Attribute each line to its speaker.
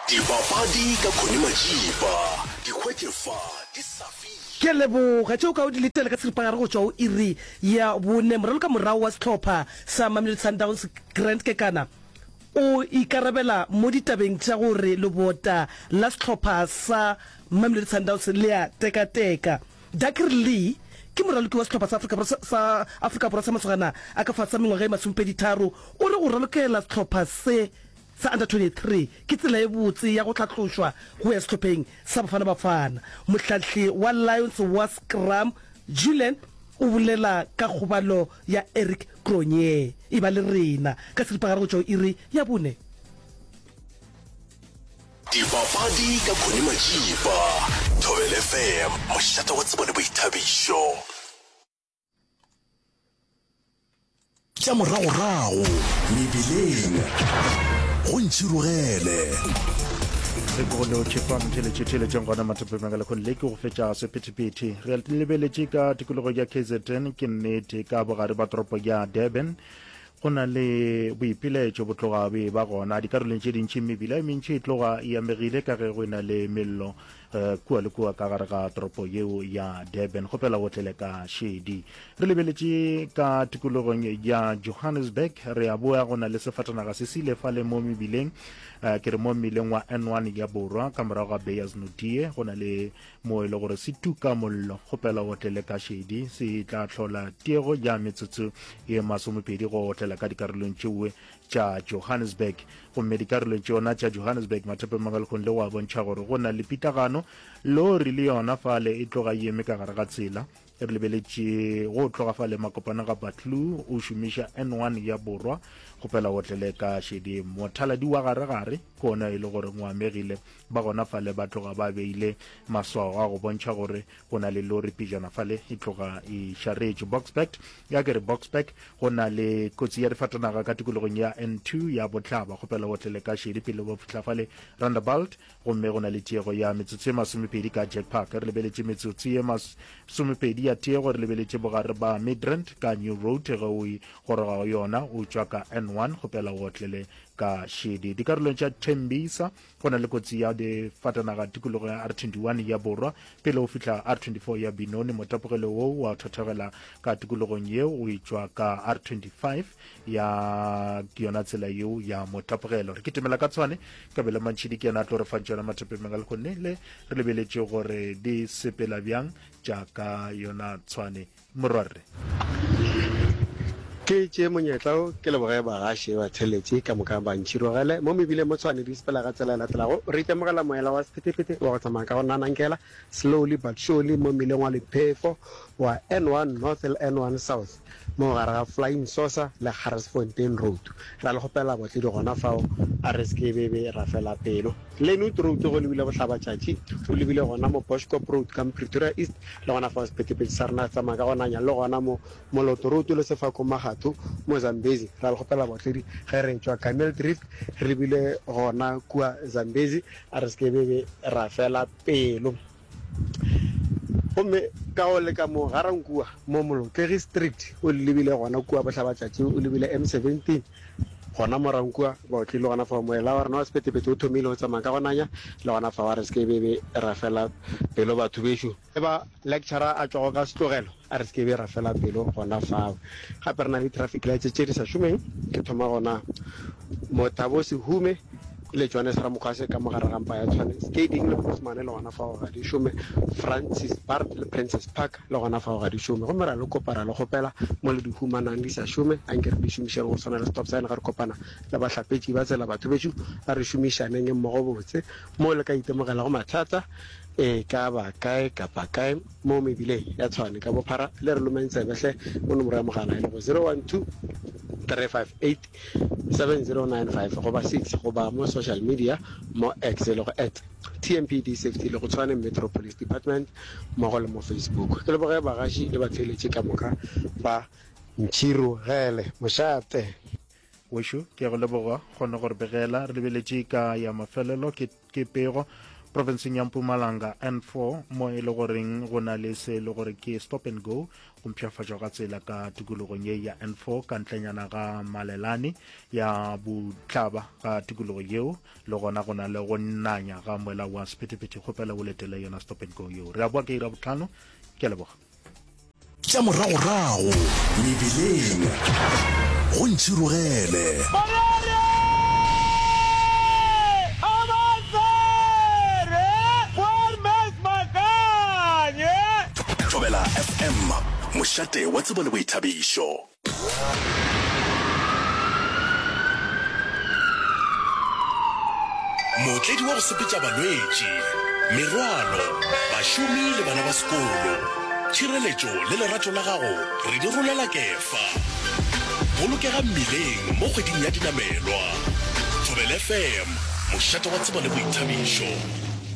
Speaker 1: Dipapadi ka Connie Majiba, di hwetše fa di sa fiše.
Speaker 2: Ke a leboga. Tšeo ka o di letela ka seripagare go tšwa go iri ya bone. Moralokamorao wa sehlopha sa Mamelodi Sundowns, Grant Kekana, o ikarabela mo ditabeng tša gore lebota la sehlopha sa Mamelodi Sundowns le a tekateka. Dakir Lee ke moraloki wa sehlopha sa Afrika Borwa sa Afrika Borwa sa masogana a ka fase ga mengwaga e masomepeditharo. O re go ralokela sehlopha se sa Under 23 ke tsela e botse ya go hlatlošwa go ya sehlopheng sa Bafana Bafana. Mohlahli wa Lions wa Scrum, Julian o bolela ka kgobalo ya Eric Cronje. E ba le rena ka seripagare go tšwa go iri ya bone.
Speaker 1: Dipapadi ka Connie Majiba, Thobela FM, mošate wa tsebo le boithabišo. Tša moragorago mebileng go ntšhirogele.
Speaker 3: Re ke go lotšhe fa motheletše theletšeng gona mathapemeng ka lekgong le ke go fetša sephethephethe. Re lebeletše ka tikologo ya KZN ke nnete ka bogare ba toropo ya Durban go na le boipilaetšo bo tloga bo e ba gona dikarolong tše dintši mebila e mentši e tloga e amegile ka ge go e na le mello eh, kua le kua ka gare ga toropo yeo ya Durban. Kgopela o tlele ka šedi. Re lebeletše ka tikologong ya Johannesburg, re a boa go na le sefatanaga se sile fale mo mebileng, eh, ke re mo mmileng wa N1 ya Borwa ka morago ga Beyers Naudé go na le mo e le gore se tuka mollo. Kgopela o tlele ka šedi, se tla hlola tiego ya metsotso ye masomepedi go otlela ka dikarolong tšeoe tša Johannesburg. Gomme dikarolong tšona tša Johannesburg, mathapeng a le go a bontšha gore go na le pitlagano. Lori le yona fale e tloga e eme ka gare ga tsela. Re lebeletše go tloga fale makopanong ga Buccleuch o šomiša N1 ya Borwa. Kgopela o tlele ka šedi. Mothaladi wa gare-gare ke ona e le gore o amegile. Ba gona fale ba tloga ba beile maswao a go bontšha gore go na le lori pejana fale e tloga e šaretšwe. Boksburg, ya ke re Boksburg, go na le kotsi ya difatanaga ka tikologong ya N2 ya Bohlaba. Kgopela o otlele ka šedi pele ba fihla fale Rondebult, gomme go na le tiego ya metsotso ye masomepedi ka Jack Park. Re lebeletše metsotso ye masomepedi ya tiego, re lebeletše bogare ba Midrand ka New Road ge o e goroga go yona o tšwa ka N1. Kgopela o otlele ka šedi. Dikarolong tša Tembisa Go na le kotsi ya difatanaga tikologo ya R21 ya Borwa pele o fihla R24 ya Benoni. Motapogelo wo wa thothogela ka tikologong yeo o etšwa ka R25 ya ke yona tsela yeo ya motapogelo. Re kitimela ka Tshwane, Kabelo Mantšhidi ke yena a tlo re fang tšona mathapemeng a lehono le re lebeletše gore di sepela bjang tša ka yona Tshwane. Morwarre.
Speaker 4: Ke tšee monyetla wo ke leboge bagaši batheeletši ka moka ba ntšhirogele mo mebileng mo Tshwane di sepela ka tsela e latelago. Re itemogela moela wa sephethephethe wa go tsamaya ka go nanankela, slowly but surely, mo mmileng wa lephefo wa N1 North le N1 South mo gare ga Flying Saucer le Garsfontein Road. Ra le kgopela botledi gona fao a re se ke be be ra fela pelo. Lynnwood Road go lebile bohlabatšatši o lebile gona mo Boschkop Road ka mo Pretoria East Le gona fao sephethephethe sa rena se tsamaya ka go nanya, le gona mo Moloto Road le Sefako Magatho mo Zambezi. Ra le kgopela baotledi ge re etšwa Camel Drift re lebile gona kua Zambezi, a re se ke be be ra fela pelo. Gomme ka go leka mo Ga-Rankuwa mo Molotlegi Street o lebile gona kua bohlabatšatši o lebile M17 gona mo Rankuwa baotledi le gona fao moela wa rena wa sephethephethe o thomile go tsamaya ka go nanya, le gona fao a re se ke be be ra fela pelo batho bešo. E ba lecturer a tšwago ka setlogelo, a re se ke be ra fela pelo gona fao. Gape re na le di-traffic lights tše di sa šomeng, ke thoma gona mo Thabo Sehume le Johannes Ramokgwase ka mo gare ga mpa ya Tshwane. Skeiding le Bosmane le gona fao ga di šome, Francis Baard le Princess Park le gona fao ga di šome. Gomme ra le kopa, ra le kgopela mo le di humanang di sa šome, anke re di šomišeng go swana le stop sign ge re kopana le bahlapetši ba tsela. Batho bešo a re šomišaneng mmogo botse mo le ka itemogelago mathata. E ka ba kae kapa kae mo mebileng ya Tshwane ka bophara, le re lomeng tsebe hle mo nomoro ya mogala e lego 012 358 7095 goba 6 goba mo social media mo X e lego at TMPD Safety le go Tshwane Metro Police Department mmogo le mo Facebook. Ke leboge bagaši le batheeletši ka moka ba Ntšhirogele mošate.
Speaker 3: Wešo, ke a go leboga kgone go re begela. Re lebeletše ka ya mafelelo ke, ke pego. Profenseng ya Mpumalanga, N4, mo e le goreng go na le se e le gore ke stop and go, go mpshafatšwa ga tsela ka tikologong ye ya N4 ka ntlenyana ga Malelane ya bohlaba ga tikologo yeo, le gona go na le go nanya ga moela wa sephethephethe. Kgopela o letele yona stop and go yeo. Re a boa ka iri ya bohlano. Ke a leboga.
Speaker 1: Tša moragorago mebileng go ntšhirogele. Thobela FM, mošate wa tsebo le boithabišo. Mootledi wa go sepetša balwetši, merwalo, bašomi le bana ba sekolo. Tšhireletšo le lerato la gago re di rolela kefa. Bolokega mmileng mo kgweding ya dinamelwa. Thobela FM, mošate wa tsebo le boithabišo.